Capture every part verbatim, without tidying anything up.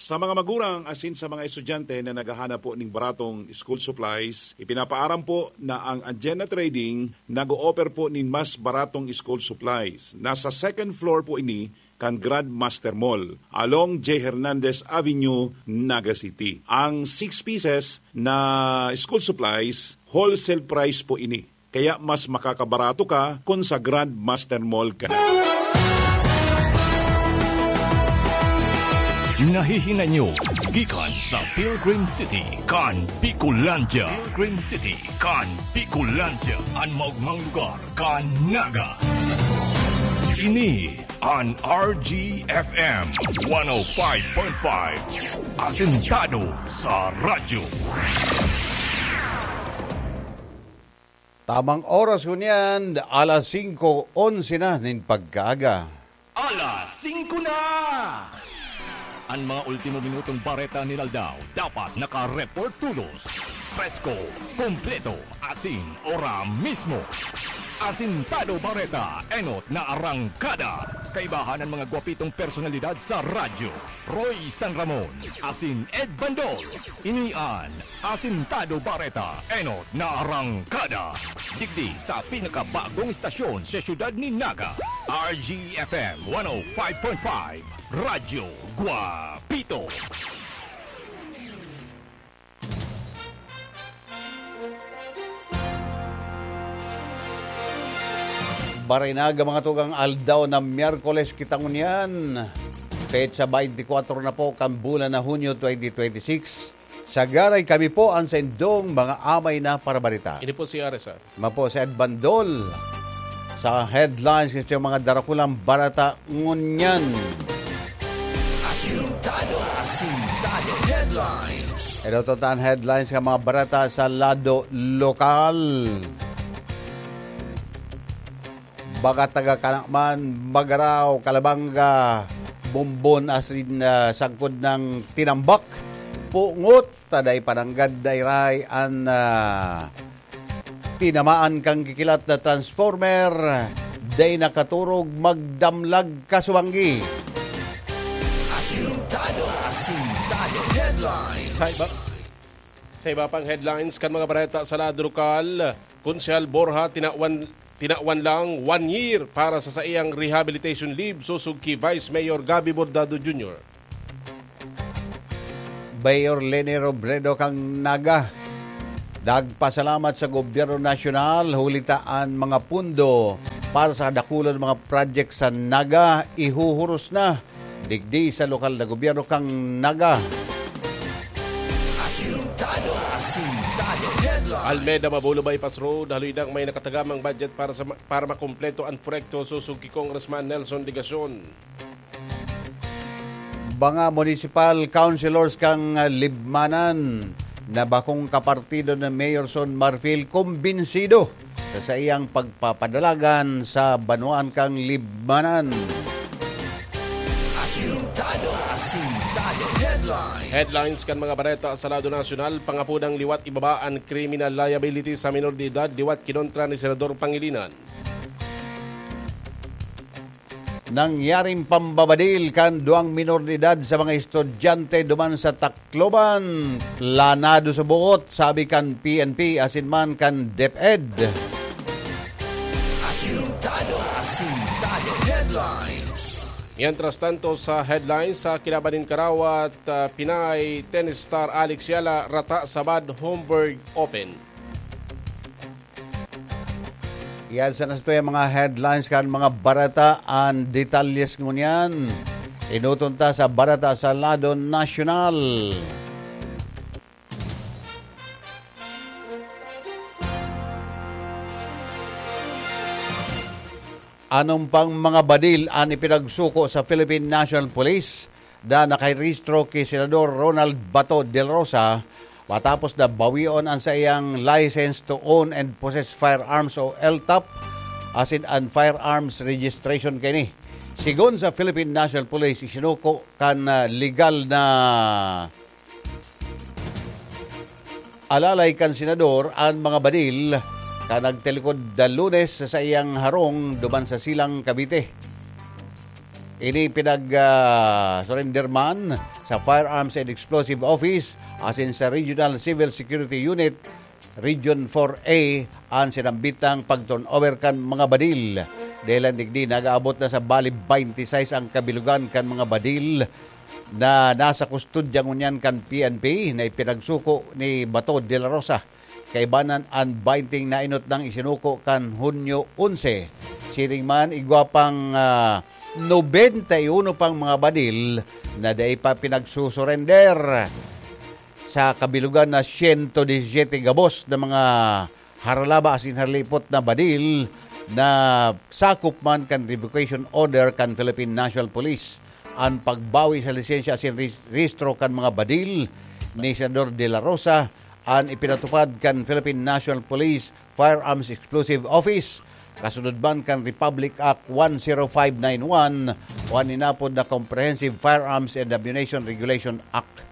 Sa mga magurang asin sa mga estudyante na naghahanap po ning baratong school supplies, ipinapaaram po na ang Anjena Trading nag-o-offer po nin mas baratong school supplies. Nasa second floor po ini kan Grandmaster Mall, along J Hernandez Avenue, Naga City. Ang six pieces na school supplies, wholesale price po ini. Kaya mas makakabarato ka kun sa Grandmaster Mall ka na. Nahihinay nyo gikan sa Pilgrim City kan Bicolandia. Pilgrim City kan Bicolandia, an maogmang lugar kan Naga. Ini an R G F M one oh five point five, asentado sa radyo. Tamang oras ngunyan, alas singko onse na nin pagkaaga. Alas singko na! An mga ultimo minutong bareta nin aldaw dapat naka-report tolos, presko, kompleto, asin ora mismo. Asintado Bareta, enot na arangkada. Kaibahan an mga gwapitong personalidad sa radyo. Roy San Ramon, asin Ed Bandol. Ini an Asintado Bareta, enot na arangkada. Digdi sa pinakabagong istasyon sa siyudad nin Naga, R G F M one oh five point five, Radyo Guapito. Barinaga, mga tugang, aldaw na Miyerkules kita ngunyan. Petsa twenty-four na po kan bulan na Hunyo twenty twenty-six. Sagaray kami po an saindong mga amay na parabarita. Ini po si R S R. Mapo si Ed Bandol sa headlines kan mga darakulang bareta ngunyan. Asintado, asintado headlines. Ito to tan headlines kan mga bareta sa lado lokal. Baga taga Kanakman, Magarao, Calabanga, Bombon asin, ah, sagkod nang Tinambak, Pungot, ta dai pa nanggad dairay an, ah, tinamaan kan kikilat na transformer, dai nakaturog, magdamlag, kasuwanggi. Asintado, asintado headlines. Sa iba, sa iba pang headlines kan mga bareta sa lado lokal, Konsehal Borja tinawan, tinawan lang one year para sa saiyang rehabilitation leave sosog ki Vice Mayor Gabby Bordado Junior. Mayor Leni Robredo kan Naga nagpasalamat sa gobyerno nasyonal huli ta an mga pondo para sa dakulon mga project sa Naga ihuhuros na digdi sa lokal na gobyerno kan Naga. Asintado, asintado headlines. Almeda Mabolo Bypass Road, haloy nang may nakatagamang budget para sa ma-, para makumpleto an proyekto sosog ki Congressman Nelson Legacion. Mga municipal councilors kan Libmanan na bakong kapartido ni Mayor Son Marfil kumbinsido sa saiyang pagpapadalagan sa banwaan kan Libmanan. Asintado, asintado headlines. Headlines kan mga bareta sa lado nasyonal, pangapodang liwat ibaba an criminal liability sa minor de edad, liwat kinontra ni Senador Pangilinan. Nangyaring pambabadil kan duwang minor de edad sa mga estudyante duman sa Tacloban, planado sa buot, sabi kan P N P asin man kan DepEd. Asintado, asintado headlines. Mientras tanto, sa headlines, sa kilaban nin Karawat, ah, Pinay tennis star Alex Yala rata sa Bad Homburg Open. Iyan sana sa tuya mga headlines kan mga bareta, an detalyes ngunyan. Enoton ta sa bareta sa lado nasyonal. Anong pang mga badil an ipinagsuko sa Philippine National Police na nakarehistro ki Senador Ronald Bato de la Rosa matapos na bawion an saiyang License to Own and Possess Firearms o L T O P asin an Firearms Registration kaini. Sigon sa Philippine National Police, isinuko kan, ah, legal na alalay kan senador an mga badil kan nagtalikod na Lunes sa saiyang harong duman sa Silang, Cavite. Ini pinag, ah, surrender man sa Firearms and Explosive Office asin sa Regional Civil Security Unit, Region four A, an sinambitang pag-turnover kan mga badil. Dahilan digdi, nag-aabot na sa bali twenty-six ang kabilugan kan mga badil na nasa kustodya ngunyan kan P N P na ipinagsuko ni Bato de la Rosa. Kaibanan an twenty na inot nang isinuko kan Hunyo onse. Siring man, igwa pang, ah, nobenta y uno pang mga badil na dai pa pinagsusurender. Sa kabilugan na siyento disisiyete gabos na mga haralaba asin haralipot na badil na sakop man kan revocation order kan Philippine National Police. An pagbawi sa lisensya asin ris-, rehistro kan mga badil ni Senador De La Rosa an ipinatupad kan Philippine National Police Firearms Explosive Office, kasunod man kan Republic Act one zero five nine one o an inapod na Comprehensive Firearms and Ammunition Regulation Act.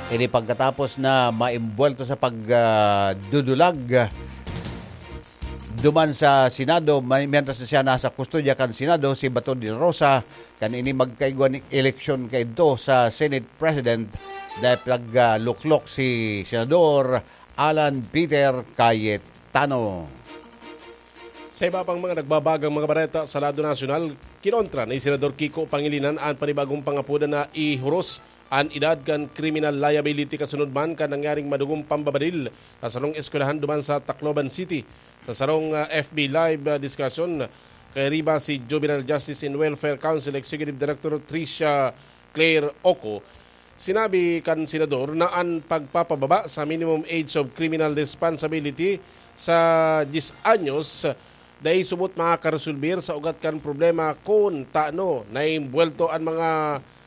Ini pagkatapos na maimbwelto sa pagdudulag duman sa Senado, may, mientras na siya nasa kustodya kan Senado, si Bato de la Rosa, kan ini magkaigwa ning eleksyon kaidto sa Senate President, dahil pinagluklok si Senador Alan Peter Cayetano. Sa iba pang mga nagbabagang mga bareta sa lado nasyonal, kinontra ni Senador Kiko Pangilinan an panibagong pangapodan na ihuros an edad kan criminal liability kasunod man kan nangyaring madugong pambabadil sa sarong eskwelahan duman sa Tacloban City. Sa sarong, ah, F B Live, ah, discussion, kairiba si Juvenile Justice and Welfare Council Executive Director Tricia Claire Oco, sinabi kan senador na an pagpapababa sa minimum age of criminal responsibility sa diyes anyos dai subot makakaresolbir sa ugat kan problema kun tano naimbwelto an mga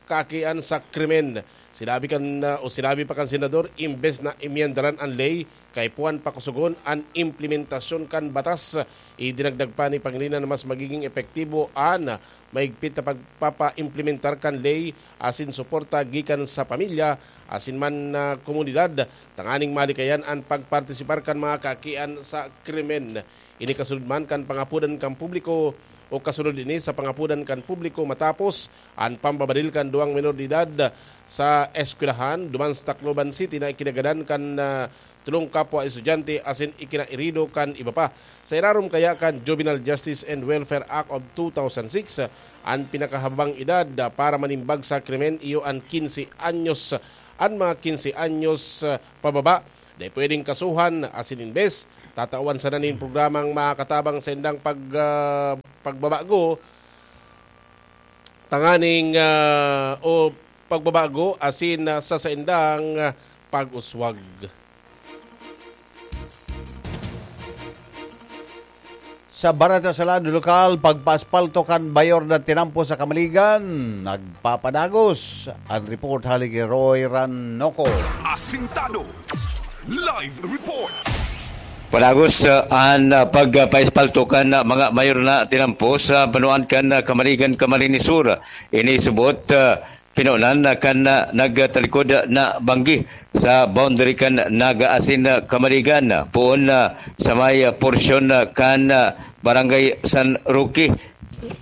kaakian sa krimen. Sinabi kan, ah, o sinabi pa kan senador, imbes na imyendaran an ley, kaipuhan pakusugon an implementasyon kan batas. Idinagdag pa ni Pangilinan na mas magiging epektibo an mahigpit na pagpapaimplementar kan ley asin suporta gikan sa pamilya asin man na komunidad, tanganing malikayan an pagpartisipar kan mga kaakian sa krimen. Ini kasunod man kan pangapodan kan publiko o kasunod ini sa pangapodan kan publiko matapos an pambabadil kan duwang menor de edad sa eskwelahan duman sa Tacloban City na ikinagadan kan, ah, tolong kapwa estudyante asin ikinairido kan iba pa. Sa irarom kaya kan Juvenile Justice and Welfare Act of two thousand six, an pinakahababang edad para manimbag sa krimen iyo an quince anyos. An mga quince anyos, ah, pababa, dai pwedeng kasuhan asin imbes tatawan sana nin programang makakatabang sa indang pag, ah, pagbabago tanganing, ah, o pagbabago asin, ah, sa saindang, ah, pag-uswag. Sa bareta sa lado lokal, pagpaaspalto kan mayor na tinampo sa Kamaligan, nagpapadagos. Ang report hali ki Roy Ranoco. Asintado. Live report. Padagos, ah, an, ah, pagpaaspalto kan, ah, mga mayor na tinampo sa banwaan kan, ah, Kamaligan, Camarines Sur. Ini subot, ah, pinonan kan, ah, nagtalikod na banggi sa boundary kan Naga asin, ah, Kamaligan, poon, ah, sa may, ah, porsyon, ah, kan, ah, Barangay San Roque,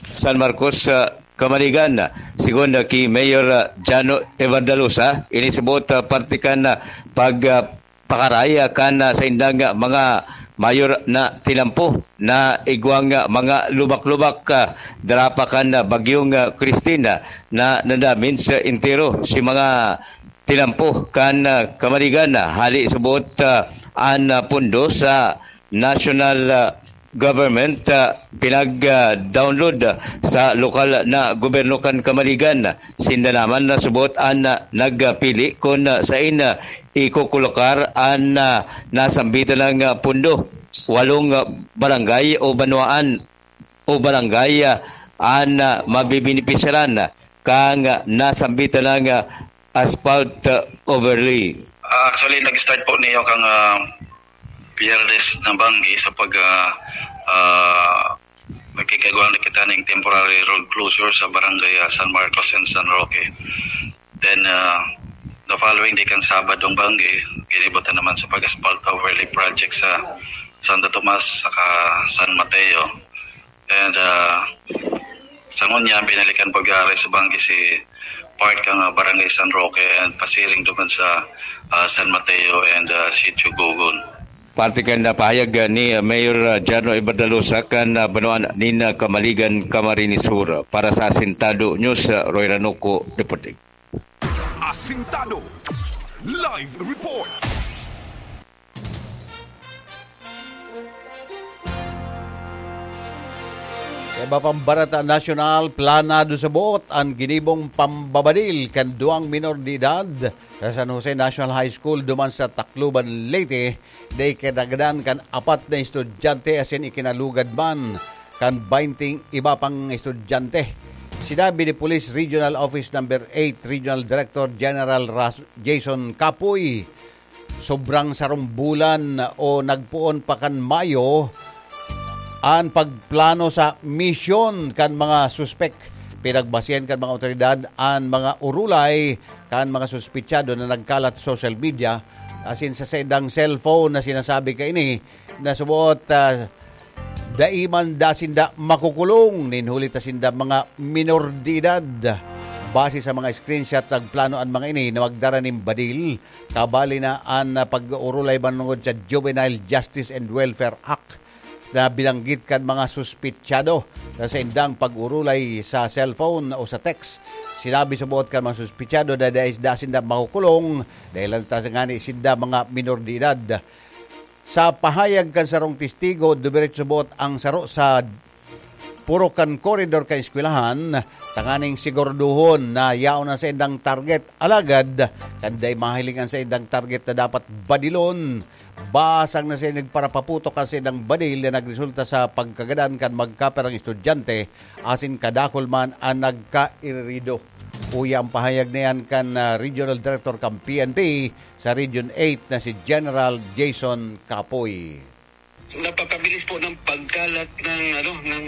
San Marcos, ah, Kamaligan. Sigon, ah, ki Mayor, ah, Jano Evardalosa, ini subot, ah, parte kan, ah, pag, ah, pakaray, ah, kan, ah, saindang, ah, mga mayor na tinampo na igwang, ah, mga lubak-lubak, ah, dara pa kan, ah, Bagyong, ah, Christine, ah, na nadamin sa entero si mga tinampo kan, ah, Kamaligan, ah, hali subot, ah, an, ah, pondo sa national, ah, government, ah, pinag, ah, download, ah, sa lokal na gobyerno kan Kamaligan. Sinda naman na subot an, ah, nagpili kun, ah, sain, ah, ikokolokar an, ah, nasambitan ng, ah, pondo. Walong, ah, barangay o banwaan o barangay, ah, an, ah, mabibenepisyaran kan, ah, nasambitan ng, ah, asphalt, ah, overlay. Ah, actually, nag-start po niyo kang, ah, Biyernes na banggi sa pag, ah, ah, magkikagwal na kita ning temporary road closure sa barangay, ah, San Marcos and San Roque. Then, ah, the following day, kan Sabado, ang banggi, kinibutan naman sa pag-asphalt overlay project sa Santo Tomas saka San Mateo. And, ah, Sa ngunyan, binalikan pag-aaresto banggi si part kan, ah, Barangay San Roque and pasiring duman sa, ah, San Mateo and, ah, Sitio Gugon. Parte kan napahayag, ah, ni, ah, Mayor, ah, Jarno Iberdalosa kan, ah, banwaan nin, ah, Camaligan, Camarines Sur. Para sa Asintado News, ah, Roy Ranuco, reporting. Asintado Live Report. Sa iba pang barata nasyonal, planado sa buot an ginibong pambabadil kan duwang minor de edad sa San Jose National High School duman sa Tacloban, Leyte, na ikinagadan kan apat na estudyante asin ikinalugad man kan baynte iba pang estudyante. Sinabi ni Police Regional Office Number eight Regional Director General Ras-, Jason Kapoy, sobrang sarong bulan o nagpoon pa kan Mayo an pagplano sa misyon kan mga suspek. Pinagbasihan kan mga awtoridad an mga urulay kan mga suspetsado na nagkalat sa social media, asin sa saindang cellphone na sinasabi kaini na suboot, ah, dai man da sinda makukulong nin huli ta sinda mga minor de edad. Base sa mga screenshot, nagplano an mga ini na magdara nin badil, kabali na an, ah, pag-urulay manongod sa Juvenile Justice and Welfare Act na binanggit kan mga suspetsado sa saindang pag-urulay sa cellphone o sa text. Sinabi sa buot kan mga suspetsado na dai da sinda makukulong dahil lang ta ngani sinda mga minor de edad. Sa pahayag kan sarong testigo, dumiretso buot ang saro sa purok kan koridor kan eskwelahan, tanganing siguraduhon na yaon na saindang target. Alagad, kan dai mahiling an saindang target na dapat badilon, basang na siya nagparapaputok kan saindang badil na nagresulta sa pagkagadan kan magkaperang estudyante asin kadakul man an nagkairido. Uya ang pahayag na yan kan, ah, Regional Director kan P N P sa Region eight na si General Jason Kapoy. Napakabilis po ng pagkalat ng, ano, ng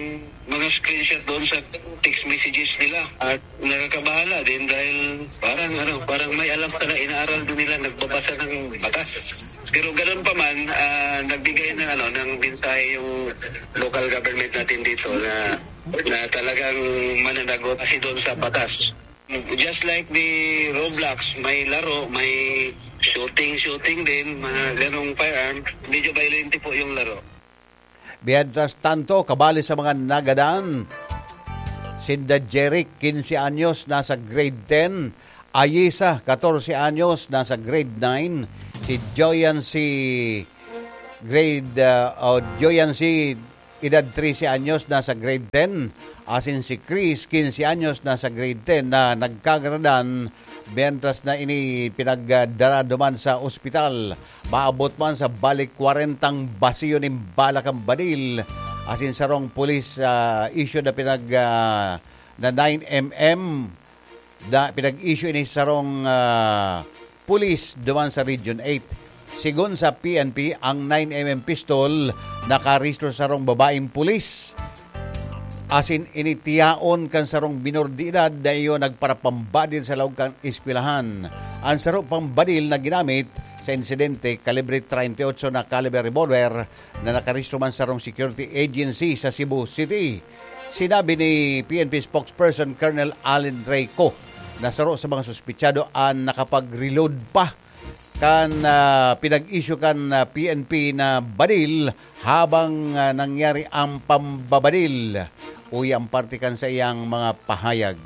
mga screenshot doon sa text messages nila. At nakakabahala din dahil parang, ano, parang may alam pala, inaaral din nila, nagbabasa ng batas. Pero ganun pa man, ah, nagbigay ng, ano, ng mensahe yung local government natin dito na, na talagang mananagos kasi doon sa batas. Just like the Roblox, may laro, may shooting, shooting din, mga ganong firearm. Medyo violent po yung laro. Mientras tanto, kabali sa mga nagadan, sinda Jeric, quince anyos, nasa grade ten, Ayisa, catorce anyos, nasa grade nine, si Joyan, si grade, ah, o Joyan, si edad trese anyos, nasa grade ten, asin si Chris, quince anyos, nasa grade ten, na nagkagradan, mientras na ini pinagdara duman sa ospital. Maabot man sa balik kwarentang basiyo nin bala kan badil, asin sarong police, ah, issue na pinag, ah, na nine M M, na pinag-issue ini sarong, ah, pulis duman sa Region eight. Sigon sa P N P, ang nine M M pistol nakarehistro sa sarong babaeng pulis. Asin ini tiyaon kan sarong minor de edad na iyo nagparapambadil sa laog kan eskwelahan. Ang saro pang badil na ginamit sa insidente, kalibre treinta y ocho na caliber revolver na nakarehistro man sa sarong security agency sa Cebu City. Sinabi ni P N P spokesperson Colonel Allen Reyco na saro sa mga suspetsado an nakapag-reload pa kan, ah, pinag-issue kan, ah, P N P na badil habang, ah, nangyari ang pambabadil. Uya ang parte kan saiyang mga pahayag.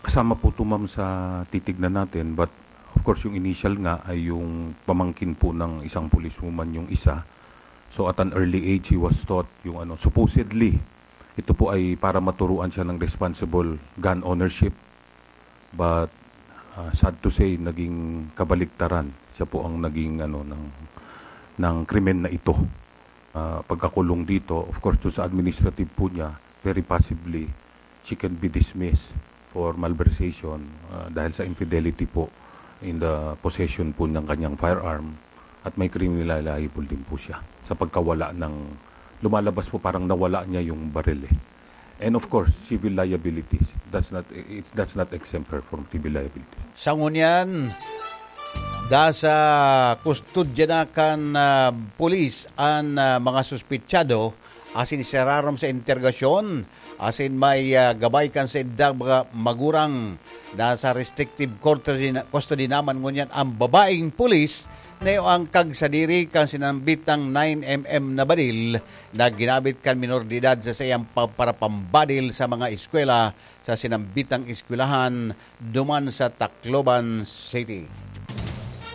Kasama po ito, ma'am, sa titignan natin, but of course, yung initial nga ay yung pamangkin po ng isang policewoman yung isa. So, at an early age, he was taught yung ano, supposedly, ito po ay para maturuan siya ng responsible gun ownership. But, ah, sad to say, naging kabaliktaran. Siya po ang naging, ano, ng, ng krimen na ito. Ah, pagkakulong dito, of course, doon sa administrative po niya, very possibly, she can be dismissed for malversation, ah, dahil sa infidelity po in the possession po ng kanyang firearm at may criminal liable din po siya sa pagkawala ng, lumalabas po parang nawala niya yung baril eh. And of course, civil liability. That's not, it, that's not exempt her from civil liability. Sa ngunyan, da sa kustodya na kan, ah, pulis an, ah, mga suspetsado asin isararom sa interrogasyon asin may, ah, gabay kan saindang mga magurang. Nasa restrictive custody na, custody naman ngunyan ang babaeng pulis na iyo ang kagsadiri kan sinambitang nine M M na badil na ginamit kan minor de edad sa saiyang pa-, para pambadil sa mga eskwela sa sinambitang eskwelahan duman sa Tacloban City.